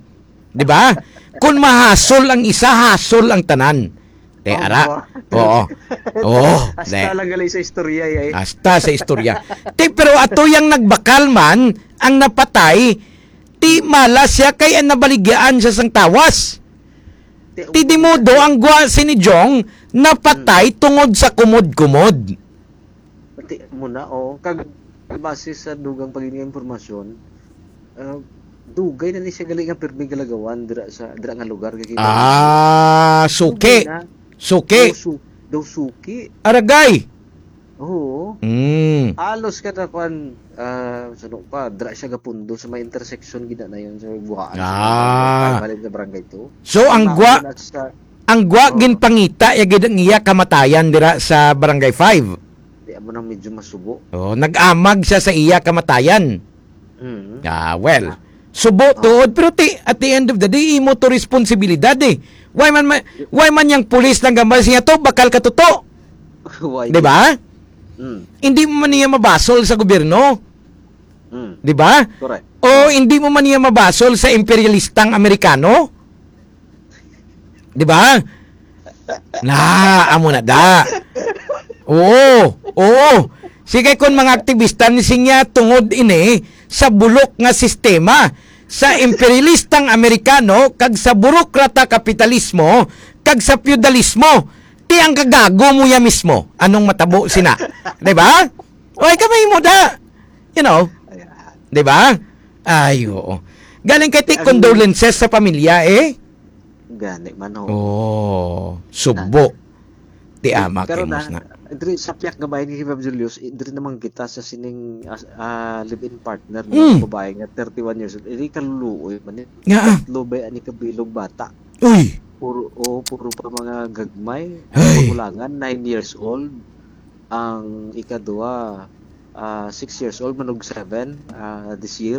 Di ba? Kung mahasol ang isa, hasol ang tanan. Te, ara. Opo. Oo. Oo. Hasta Te. lang gali sa istorya, ya, eh. Hasta sa istorya. Te, pero ato yang nagbakal man, ang napatay, ti mala siya kay ang nabaligyaan siya sang tawas. Te, Ti di mo do ang gwa si ni Jong, napatay Hmm. tungod sa kumod-kumod. Pati mo na, oh. Kag base sa dugang pagin nga impormasyon, ah, dugay na ni siya gali nga pirmi galagawan dira sa, dira nga lugar nga kita. Ah, suki. Dugay na. Suki. Daw su-, daw suki. Aragay. Oo. Mm. Halos kada kwan, ah, sano pa, dira siya gapundo sa may intersection gid na yun sa Buhaan. Ah. Sa Barangay, sa Barangay two. So, ang Ang gwa-, mga sa, ang gwa oo. ginpangita, ya gid ang iya kamatayan dira sa Barangay five. Di, amo nang medyo masubo. Oh, nag-amag siya sa iya kamatayan. Mm. Ah, well, Ah. subo Ah. tuod, pero ti, at the end of the day, imo to responsibilidad eh. Why man, ma-, why man yang pulis lang gambal siya to, bakal ka tuto? Why? Di ba? Mm. Hindi mo man niya mabasol sa gobyerno. Mm. Di ba? Correct. O hindi mo man niya mabasol sa imperialistang Amerikano? Di ba? Na, amo na da. Oo, oo. Sige, kung mga aktibista ni siya tungod ini sa bulok nga sistema sa imperialistang Amerikano kag sa burokrata kapitalismo kag sa feudalismo, ti ang kagago mo ya mismo. Anong matabo sina? Di ba? Oy, kamay mo da. You know, Ayan. Di ba? Ay, oo. Galing kay ti Ang condolences sa pamilya, eh. Gani man, ho. Oh, subo. Ti ama Pero kay na, Musna. Diri sa piyak nga bahin ni Ma'am Julius, eh, diri naman kita sa sining, as-, ah, live-in partner Mm. nga babae nga thirty-one years old. Iri kaluluoy man ni. Nga, ah. Tatlo ba ani kabilog bata? Uy! Puro, oh, puro pa mga gagmay. Ay. Magulangan, nine years old. Ang ikaduha, ah, six years old, manug seven, ah, this year.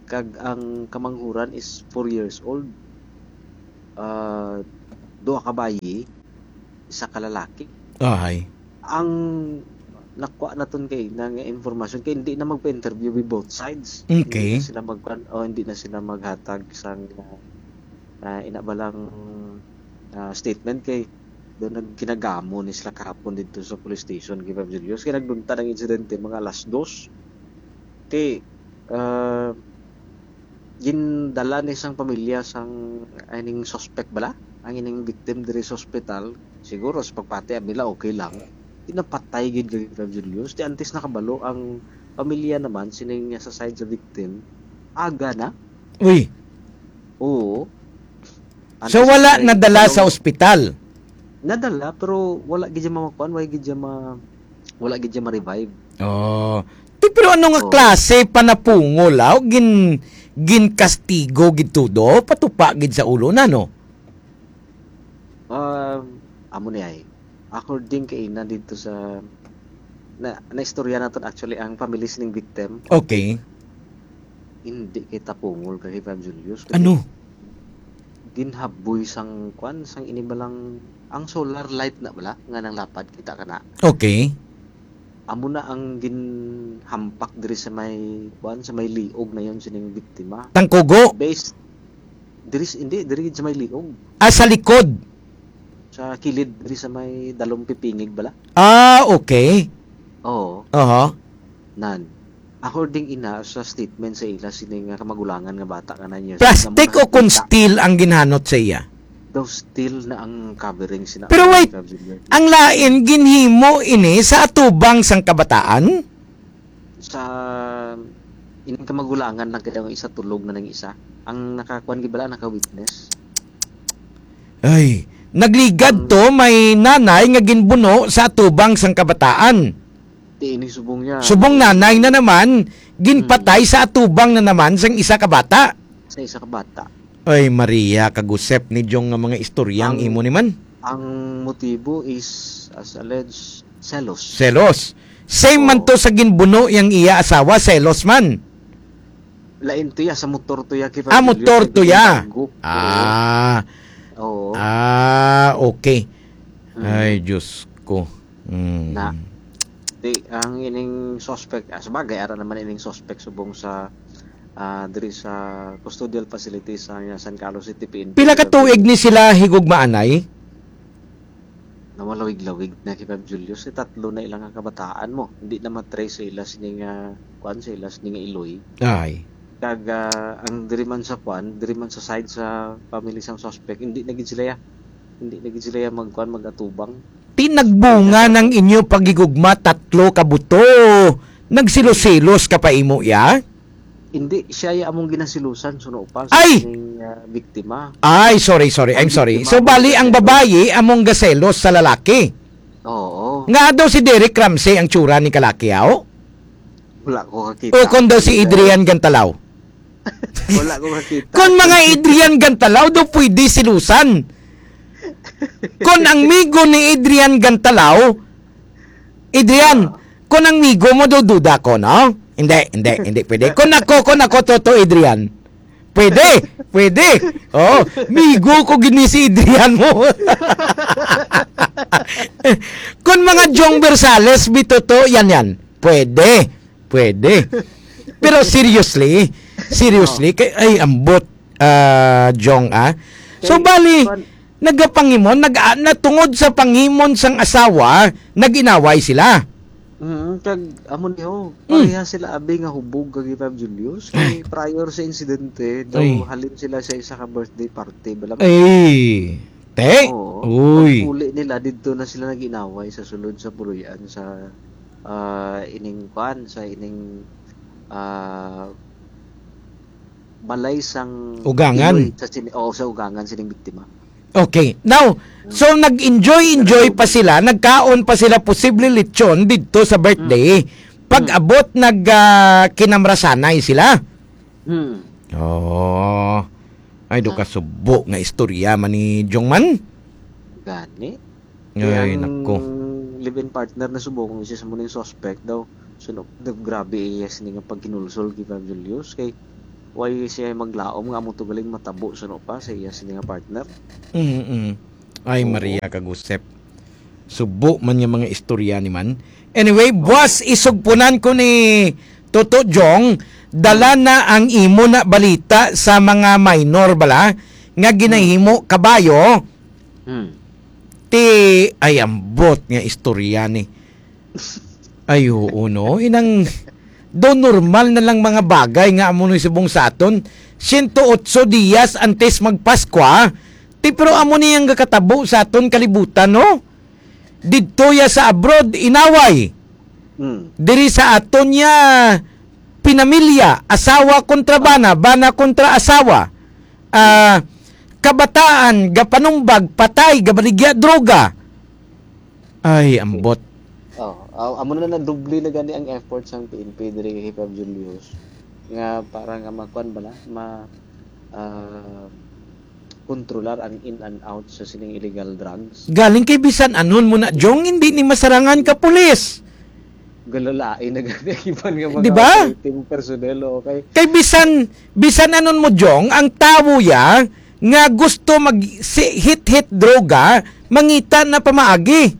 Kag ang kamanghuran is four years old. Ah, duha ka bayi, isa ka lalaki. Ahay. Ang nakuha naton kay na nga informasyon kay hindi na magpa-interview with both sides. Okay. Hindi na sila magkuan, o hindi na sila maghatag sang, ah, ah, ina ba lang, ah, statement kay doon nagkinagamo ni sila kahapon dito sa police station kay Ma'am Julius. Kaya nagdunta ng insidente mga alas dos. Kay, ah, gindala ni sang pamilya sang ining suspect bala, ang ining victim diri sa ospital. Siguro sa pagpati ang nila okay lang. Di napatay gid kay Ma'am Julius. Di antes nakabalo ang pamilya naman sining sa side sa victim. Aga na. Uy. Oo. So, Antes wala na nadala sa palo- ospital? Nadala, pero wala gid siya mamakuan, wala gid siya ma-, wala gid siya ma-revive. Oh. Ti, pero ano nga Oo. klase panapungol, aw? Gin-, ginkastigo gid tudo? Patupa gid sa ulo na, no? Um, amo ni ay. According kay ina dito sa na, naistorya naton actually ang family sining victim. Okay. Hindi kay tapungol kay Ma'am Julius, kundi Ano? ginhaboy sang kwan, sang ini balang, ang solar light na bala nga nanglapad, kita ka na. Okay. Amo na ang ginhampak diri sa may, kwan, sa may liog na yon sining biktima. Tangkugo? Based, diri s-, hindi, diri sa may liog. Ah, sa likod? Sa kilid, diri sa may dalong pipingig bala. Ah, okay. Oo. Aha. Nan. According ina sa statement sa ila, sini nga kamagulangan nga bata nga nine years old, Plastic nga o kung nakita. Steel ang ginhanot sa iya? Daw steel na ang covering sina Pero wait, Ma'am Juliet. Ang lain, ginhimo ini sa atubang sang kabataan? Sa ining kamagulangan lang kaya ang isa tulog na nang isa. Ang nakakuan gid bala, naka-witness. Ay, nagligad Ang to, may nanay nga ginbuno sa atubang sang kabataan. Ti ini subong niya. Subong nanay na naman, ginpatay Hmm. sa atubang na naman sang isa ka bata. Sa isa ka bata. Ay, Maria, kagusep ni Jong nga mga istorya ang Ang imo ni man. Ang motibo is, as alleged, selos. Selos. Same man Oo. to sa ginbuno yang iya asawa, selos man. Lain to ya, sa motor to ya, kay Ah, Fabiola, motor sa to ya. Ginbanggo. Ah. Oo. Ah, okay. Mm. Ay, Diyos ko. Mm. Na, di, ang ining suspect, ah, sabagay, ara naman ining suspect subong sa, ah, diri sa custodial facility sa, San Carlos City P N P. Pila ka tuig ni sila higugmaanay? Na malawig-lawig na kay Fab Julius, eh, tatlo na ilang kabataan mo. Hindi na matrace sa ila sini nga, kuan, sa ila sini nga iloy. Ay. Kag, ah, ang diri man sa kuan, diri man sa side sa family sang suspect, hindi na gid sila ya. Hindi na gid sila ya magkuan, mag-atubang. Ti nagbunga ng inyo paghigugma, tatlo ka buto. Nagsilos-silos ka pa imo, ya? Hindi, siya ya among ginasilusan, suno pa, sa Ay! kining, ah, biktima. Ay, sorry, sorry. I'm Ang sorry. biktima So, among bali, ang gaselos. babayi among gaselos sa lalaki. Oo. Nga daw si Derek Ramsey ang tsura ni kalaki, aw? Wala ko kakita. O kung daw si Adrian Gantalaw? Wala ko kakita. Kung mga Adrian Gantalaw daw pwede silusan. Kung ang migo ni Adrian Gantalaw, Adrian, Ah. kung ang migo mo daw duda ko, no? Hindi, hindi, hindi pwede. Kung ako, kung ako, Toto Adrian, pwede, pwede. Oh, migo ko gini si Adrian mo. Kung mga Jong Bersales, bitoto, yan, yan. Pwede. Pwede. Pero seriously, seriously, Oh. kay, ay, ambot, ah, Jong, ah. So, Kay, bali, kuwan, nagapangimon, nag-, ah, natungod sa pangimon sang asawa, nag-inaway sila. Mm, kag, amo ni, oh, Mm. pareha sila, abi, nga hubog kag Fab Julius. Ay. Kay prior sa insidente, daw Ay. halin sila sa isa ka birthday party, bala. Ay, te? Oo. Uy. Pag-uli nila, didto na sila nag-inaway sa sulod sa puloy-an sa, ah, ining kwan, sa ining ah, balay sang Ugangan. Iloy sa sini-, o sa ugangan sining biktima. Okay. Now, so nag-enjoy-enjoy pa sila, nagkaon pa sila posible lechon didto sa birthday. Pag-abot nag, ah, kinamrasanay sila. Hmm. Oh. Ay, do Ah. Kasubo nga istorya man ni Jong man. Gani. Ay, Kaya ang nako. Live-in partner na subong siya sa muning suspect daw. So, no, nag-, grabe iya sini nga pagkinulsol kay Pam Julius. Kay, why siya maglaom nga amo to galing matabo sa no pa sa iya sini nga partner? Mm-mm. Ay, Oo. Maria kag Josep. Subo man nga mga istorya ni man. Anyway, Oo. Buwas isugpunan ko ni Toto Jong, dala na ang imo na balita sa mga minor bala nga ginahimo kabayo. Hmm. Ti, ay, ambot nga istorya ni. Ay, oo, no? Inang, do normal na lang mga bagay nga amo ni subong sa aton. Siyento otso dias antes magpaskwa. Ti, pero amo ni ang gakatabo sa aton kalibutan, no? Didto ya sa abroad, inaway. Hmm. Diri sa aton ya, pinamilya, asawa kontra bana, bana kontra asawa. Ah, kabataan, gapanumbag, patay, gabaligya, droga. Ay, ambot. Oh, aw-, amo na na doble na gani ang effort sang P N P diri kay Pab Julius nga para nga makuan bala, ma, ah, kontrolar ang in and out sa sining illegal drugs. Galing kay bisan anon mo na, Jong, hindi ni masarangan ka pulis. Galalain na gani ang iban nga mga Di ba? Operating personnel, okay? Kay bisan, bisan anon mo, Jong, ang tawo ya nga gusto mag si-, hit-hit droga, mangita na pamaagi.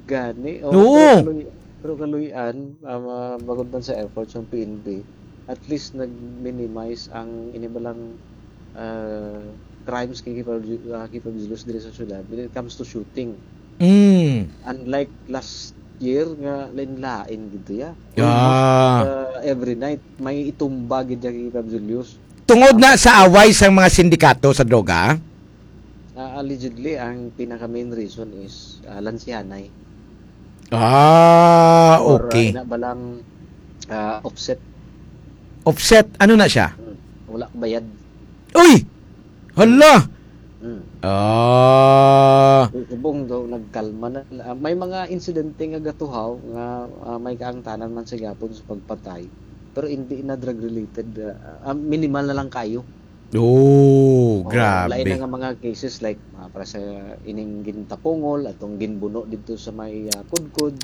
Gani, oh, Oo. Pero kaluy-, pero kaluy-an, ah, ma-, bangod man sa efforts ng P N P, at least nag-minimize ang inibalang, ah, crimes kay Kipag-, ah, Kipagdilos diri sa syudad when it comes to shooting. Mm. Unlike last year nga lain-lain gid ya. Almost, Ah. ah, every night may itumba gid ya kay Kipagdilos. Tungod na sa away sang mga sindikato sa droga? Ah, allegedly, ang pinaka main reason is, ah, lansihanay. Ah, Or, okay. ah, ina ba lang, ah, offset. Offset? Ano na siya? Hmm. Wala bayad. Uy! Hala! Hmm. Ah. Subong daw, nagkalma na. Ah, may mga insidente nga gatuhaw nga, ah, may kaangtanan man sa gihapon sa pagpatay. Pero hindi na drug-related. Ah, ah, minimal na lang kayo. Oh, Oo, grabe. Lain na nga mga cases like, ah, para sa ining gintapungol, atong ginbuno dito sa may, ah, Kudkod,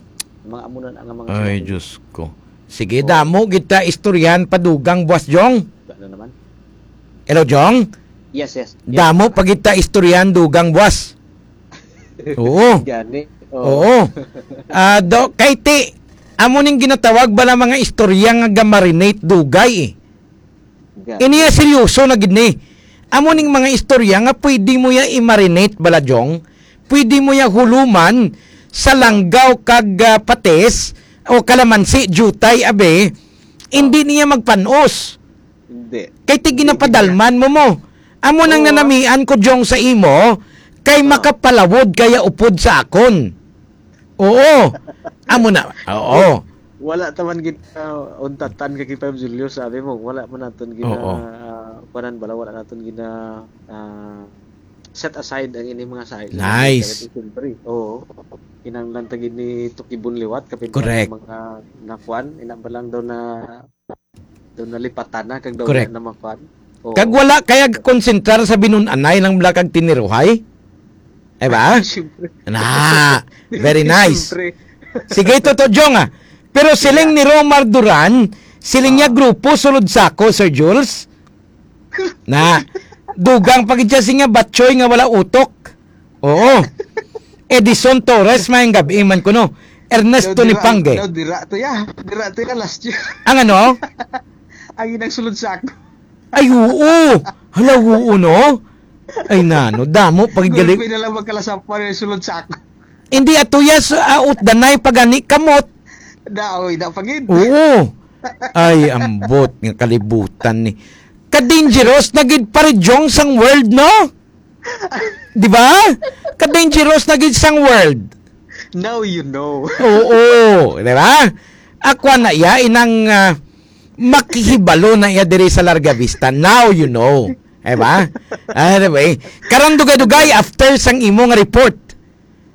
mga amo na nga mga Ay, sinabi. Diyos ko. Sige, Oo. Damo kita istoryahan pa dugang, Boss Jong. Ano naman? Hello, Jong? Yes, yes. Yes. Damo pa kita istoryahan dugang, Boss. Oo. Gani. Oo. Oo. Ah, do, kay ti, amo ning ginatawag bala mga istorya nga ga-marinate dugay eh. Ga- Ini ya seryoso na gid ni. Amo ning mga istorya nga pwede mo ya i-marinate bala, Jong. Pwede mo ya huluman sa langgaw kag, ah, patis o kalamansi, jutay, abi. Hindi niya magpanos. Hindi. Kay ti Hindi ginapadalman mo mo. Amo nang Oo. nanamian ko, Jong, sa imo, kay Oo. makapalawod kaya upod sa akon. Oo. Amo na. Oo. Wala ta man gid, ah, untatan kay Pam Julio, sabi mo, wala man naton gina, Oo. ah, kuanan bala, wala naton gina, ah, set aside ang ining mga sa Nice. Siyempre, oo. Kinahanglan ta gid ni tukibon liwat, kapin Correct. Mga nakuan, ina ba lang daw na Doon nalipatan na, kag daw Correct. Na makuan. Oo. Kag wala kaya konsentrar sa binun-anay lang bala kag tiniruhay? Ay ba? Siyempre. Na, very nice. Siyempre. Sige, Toto Jong, ah. Pero siling Yeah. ni Romar Duran, siling niya Ah. grupo sulod sako, Sir Jules. Na, dugang pa gid siya siya batchoy nga wala utok. Oo. Edison Torres, maayong gabi man kuno. Ernesto Daw dira, Lipangge. Daw dira to ya. Dira to ya last year. Ang ano? Ang inang sulod sa ako. Ay, oo. Hala, oo, no? Ay, nano, damo pag Gulpi galing. Na lang magkalasapan yung sulod sa ako. Hindi, ato ya sa, ah, utdanay pagani kamot. Daoy, da pagid. Oo. Ay, ambot nga kalibutan ni. Ka-dangerous na gid pa rin, Jong, sang world, no? Di ba? Ka-dangerous na gid sang world. Now you know. Oo, di ba? Akwa na ya, inang, ah, Makihibalo na iya diri sa Larga Vista. Now you know. Di ba? Anyway, karon dugay-dugay after sang imo nga report.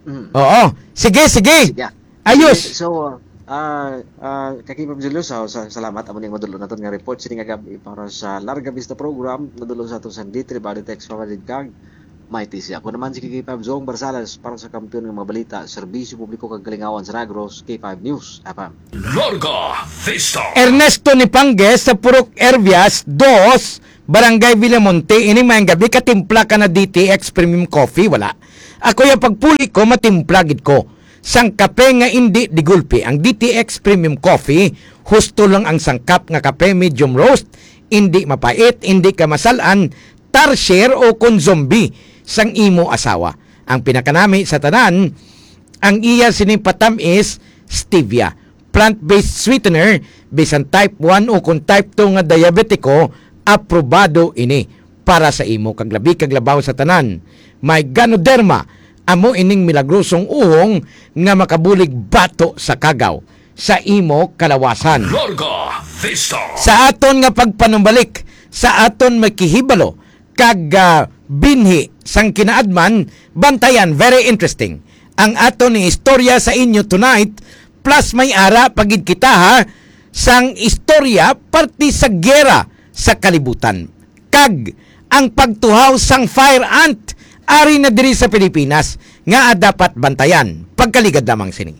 Mm. Oo. Sige, sige. Sige. Ayos. Sige, so, ah, ah, Kakipam Julio, sa, sa, salamat amo ning madulon naton nga report sini nga gab-i para sa Larga Vista Program. Nadulon sa aton sa D three Body Text Pamalid kag May T C. Ako naman si Kakipam Zong Barsalas para sa Kampiyon nga mga Balita, Serbisyo Publiko kag Kalingawan sa Negros, K five News F M. Larga Vista. Ernesto Nipangues sa Purok Ervias dos, Barangay Villamonte, ini mayang gabi, katimpla ka na D T X Premium Coffee? Wala. Ako ya pagpuli ko, matimpla gid ko. Sang kape nga indi digulpi ang D T X Premium Coffee, husto lang ang sangkap nga kape, medium roast, indi mapait, indi ka masal-an, tarsier o kon zombie sang imo asawa. Ang pinakanami sa tanan, ang iya sini patam-is stevia. Plant-based sweetener, bisan type one o kon type two nga diabetiko, aprobado ini para sa imo kag labi kag labaw sa tanan. May Ganoderma, amo ining milagrosong uhong nga makabulig bato sa kagaw sa imo kalawasan. Larga Vista. Sa aton nga pagpanumbalik sa aton makihibalo kag, ah, binhi sang kinaadman, bantayan, very interesting ang aton ni istorya sa inyo tonight, plus may ara pa gid kita, ha, sang istorya parte sa giyera sa kalibutan kag ang pagtuhaw sang fire ant ari na diri sa Pilipinas nga dapat bantayan. Pagkaligad lamang sini.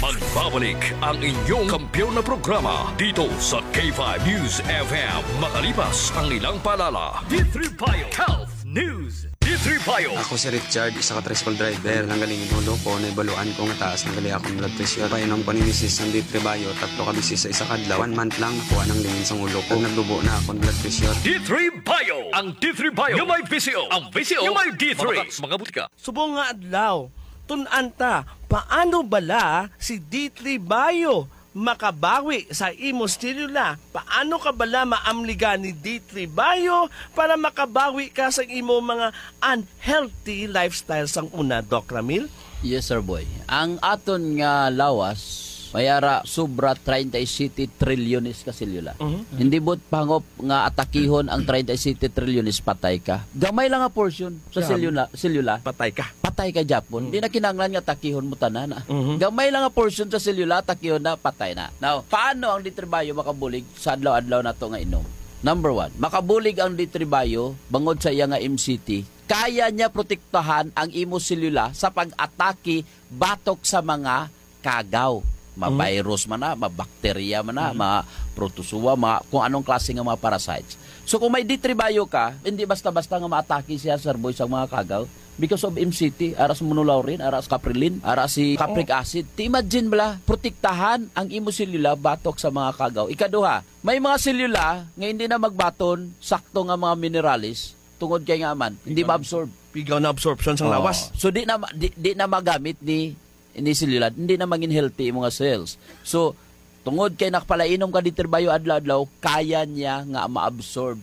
Magbabalik ang inyong kampiyon na programa dito sa K five News F M, makalipas ang ilang paalala. D three Bio Health News. D three Bio. Ako si Richard, isa ka tricycle driver. Nanggaling in ulo ko, naibaluan ko nga taas na gali akong blood pressure. Painom ko ni misis sang D three Bio, tatlo ka bisis sa isa ka adlaw. One month lang, nakuha nang lingin sang ulo ko. Nagdubo na akong blood pressure. D three Bio. Ang D three Bio nga may V C O. Ang V C O nga may D three. Mabakak sa mga butika. Subong nga adlaw, tun-an ta, paano bala si D three Bio makabawi sa imo selula? Paano ka bala maamligan ni D three Bio para makabawi ka sa imo mga unhealthy lifestyle sang una, Doc Ramil? Yes, sir boy. Ang aton nga lawas, may ara sobra treinta y siete trilyones ka selula. Mhm. Hindi buot pangup nga atakihon ang treinta y siete trilyones, patay ka. Gamay lang nga portion sa Yeah. selula, selula. Patay ka. Patay ka, Japon. Mm. Di na kinahanglan nga atakihon mo tanan, ah. Mhm. Gamay lang nga portion sa selula, atakihon na, patay na. Now, paano ang D three Bio makabulig sa adlaw-adlaw nato nga inom? Number one, makabulig ang D three Bio bangod sa iya nga M C T. Kaya niya protektahan ang imo selula sa pag-atake batok sa mga kagaw. Mm. Ma-virus man na, ma-bacteria man na, Mm. ma-protozoa, ma-, kung anong klase nga mga parasites. So, kung may D three Bio ka, hindi basta-basta nga maatake siya, sir boy, sa mga kagaw. Because of M C T, ara sa monolaurin, ara sa caprilin, ara si capric Oh. acid. Ti imagine bala, protektahan ang imo selula batok sa mga kagaw. Ikaduha, may mga selula nga hindi na magbaton sakto nga mga minerales tungod kay nga man, hindi Pigaw. ma-absorb. Pigaw na absorption sang Oh. lawas. So, di na ma-, di, di na magamit ni, ni selula, hindi na mangin healthy imo nga cells. So, tungod kay nakapalainom ka D three Bio adlaw-adlaw, kaya niya nga ma-absorb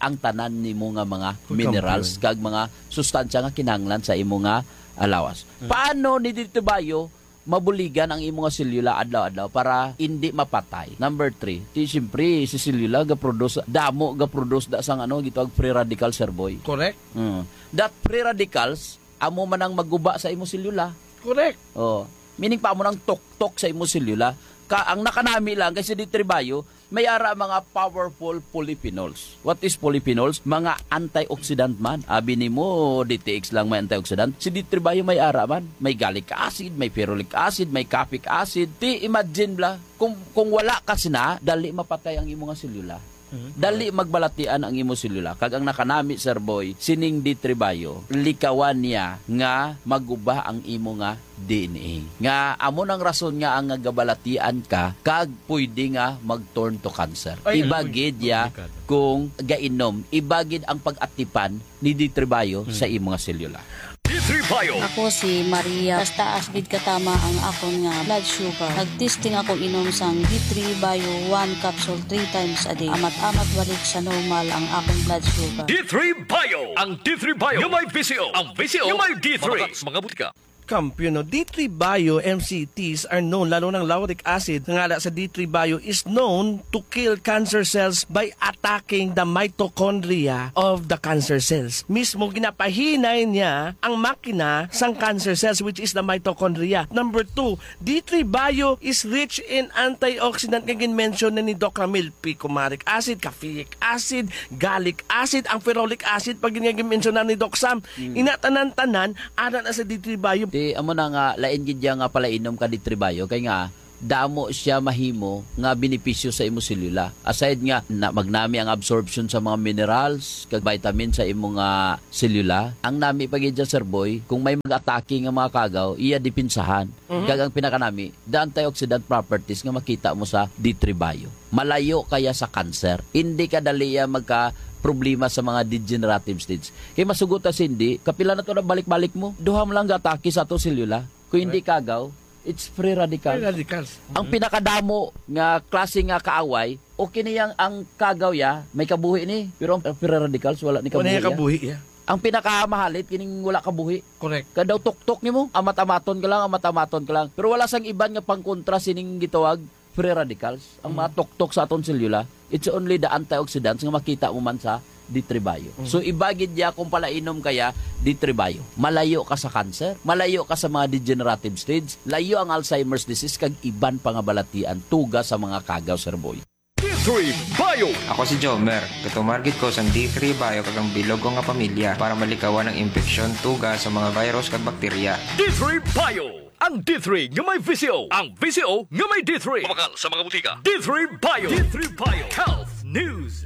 ang tanan nimo nga mga Full minerals compound. kag mga sustansya nga kinahanglan sa imo nga lawas. Mm. Paano ni D three Bio mabuligan ang imo nga selula adlaw-adlaw para hindi mapatay? Number three, ti siyempre, si selula ga-produce, damo ga-produce da sang ano, gitawag free radical, sir boy. Correct. Mm. That free radicals, amo man ang maguba sa imo selula. Correct. Oh, meaning pa amo nang tuktok sa imo selula. Ka, ang nakanami lang kay si D three Bio, may ara mga powerful polyphenols. What is polyphenols? Mga antioxidant man. Abi nimo, D T X lang may antioxidant. Si D three Bio may ara man. May gallic acid, may ferulic acid, may caffeic acid. Ti imagine bala, kung, kung wala ka sina, dali mapatay ang imo nga selula. Mhm. Dali magbalatian ang imo selula. Kag ang nakanami, sir boy, sining D three Bio, likawan niya nga maguba ang imo nga D N A. Nga amo nang rason nga ang nagabalatian ka, kag pwede nga mag-turn to cancer. Ay, Iba ay, gid ya delikado. Kung gainom, iba gid ang pag-atipan ni D three Bio Hmm. sa imo nga selula. D three Bio. Ako si Maria. Taas-taas gid katama ang akon nga blood sugar. Nag-testing ako inom sang D three Bio one capsule three times a day. Amat-amat balik sa normal ang akon blood sugar. D three Bio. Ang D three Bio nga may V C O. Ang V C O nga may D three. Mabakak sa mga butika. Camp, you know, D three Bio M C Ts are known, lalo ng lauric acid, nga ala sa D three Bio, is known to kill cancer cells by attacking the mitochondria of the cancer cells. Mismo ginapahinay niya ang makina sang cancer cells, which is the mitochondria. Number two, D three Bio is rich in antioxidant nga gin-mention na ni Doc Ramil, picumaric acid, caffeic acid, gallic acid, ang ferulic acid pag nga gin-mention na ni Doc Sam. Ina tanan-tanan ana na sa D three Bio. Ti amo na nga lain gid ya nga palainom ka D three Bio kay nga damo siya mahimo nga benepisyo sa imo selula. Aside nga na magnami ang absorption sa mga minerals kag vitamin sa imo nga selula, ang nami pa gid dyan, Sir Boy, kung may mag-atake nga mga kagaw, iya depensahan. Kag ang pinakanami, the antioxidant properties nga makita mo sa D three Bio. Malayo kaya sa cancer. Hindi ka dali ya magka problema sa mga degenerative stage. Kay masugot ta, Cindy, kapila na to na balik-balik mo? Duha man lang gatake sa ato selula. Kung hindi kagaw, it's free radicals. Free radicals. Ang pinakadamo nga klase nga kaaway, o kini yang ang kagaw ya, may kabuhi ni, pero ang free radicals wala ni Wala kabuhi niya ya. Kabuhi ya. Ang pinakamahalit kining wala kabuhi. Correct. Kadaw tuktok nimo, amat-amaton ka lang, amat-amaton ka lang. Pero wala sang iban nga pangkontra sining gitawag free radicals. Ang mga tuktok sa aton selula, it's only the antioxidants nga makita mo man sa D three Bio. So iba gid ya kung palainom kaya D three Bio. Malayo ka sa cancer, malayo ka sa mga degenerative stage, layo ang Alzheimer's disease kag iban pa nga balatian tuga sa mga kagaw, Sir Boy. D three Bio. Ako si Jomer. Gatumar gid ko sang D three Bio kag ang bilog ko nga pamilya para malikawan ang impeksyon tuga sa mga virus kag bakterya. D three Bio. Ang D three nga may V C O. Ang V C O nga may D three. Mabakal sa mga butika. D three Bio. D three Bio. Health News.